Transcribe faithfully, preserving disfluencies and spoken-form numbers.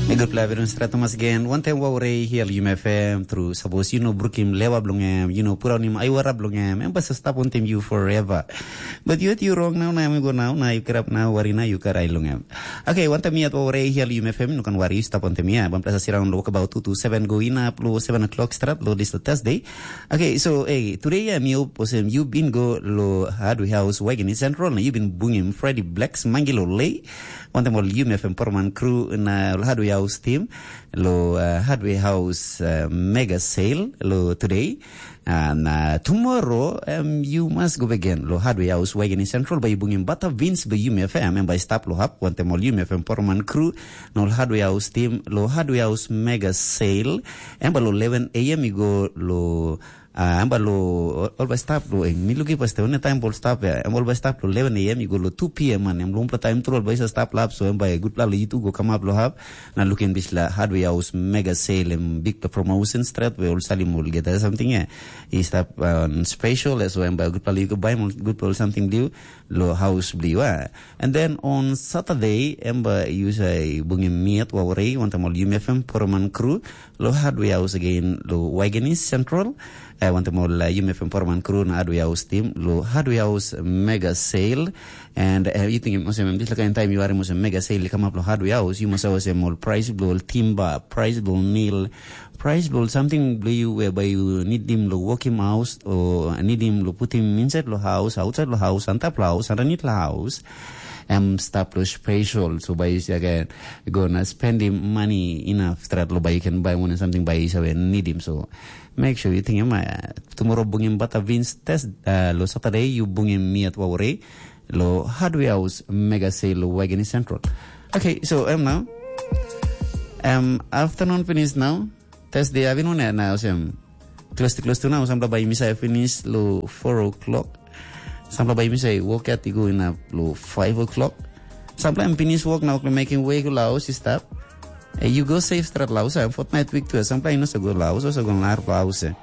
Good pleasure in Stratomas again. One time wow rei hial yum F M through. Suppose you know brukim lewa blong em, you know puraunim aiwara blong em, em basa stap on time you forever. But yet you wrong now, now you go now, now you get up now, worry now you karai long em. Okay, one time yet wow rei hial yum F M, no kan worry, stap on time ya. Bam plasa sirang lo about two to seven go in up lo seven o'clock strat lo this Thursday. Okay, so hey, today ya mi op osem you been go lo hardware house wagon in central na you been bungim Freddy Blacks mangilo lei. Wantem ol Yum F M Porman crew na ol Hardware House team lo uh, Hardware House uh, mega sale lo today. Uh, na tomorrow um, you must go again lo Hardware House Wagening Central by bungim bata Vince by Yum F M and by stap lo hap wantem ol Yum F M Porman crew na ol Hardware House team lo Hardware House mega sale. And by lo eleven a m you go lo Ah, em ba lo ol bai stap lo eng. Mi luki pas te one time bol stap ya. Em ol bai stap lo eleven a m i go lo two p m man. Em lo umpla time tru ol bai sa stap lap so em bai gutpela lo itu go kamap lo hap. Na lukin bisla hardware house mega sale em big promotion strat we ol salim ol geta something ya. I stap uh, special so em bai gutpela lo go buy gutpela something liu. Lo house bliu ah. And then on Saturday em ba yu sa bungim miat wa warei wantam ol U M F M Poroman crew lo hardware house again lo Waigenis Central. Eh, wantam ol uh, U M F M Poroman crew na hardware house team lo hardware house mega sale. And uh, you think must have this kind of time you are must mega sale come up lo hardware house you must have all price lo timber, price lo nail, price bilong something bilong you whereby you need him to work him house or need him to put him inside the house, outside the house, on top the house, underneath the house. Em stap lo special so by you again gonna spend him money enough that lo by you can buy one something by you need him. So make sure you think him uh, tomorrow bring him butter beans test uh, lo Saturday you bring him me at Wawari lo hardware house mega sale lo Wageni Central. Okay, so em now em afternoon finish now. Thursday, I've been on it now. Sem close to close to now. Sampla by Misa finish lo four o'clock. Sampla by Misa work at go in up lo five o'clock. Sampla I'm finish work now. Making way go laos is stop. Eh, you go safe strat laos. I'm fortnight week too. Sampla you know so go laos. Also go lar laos. Eh.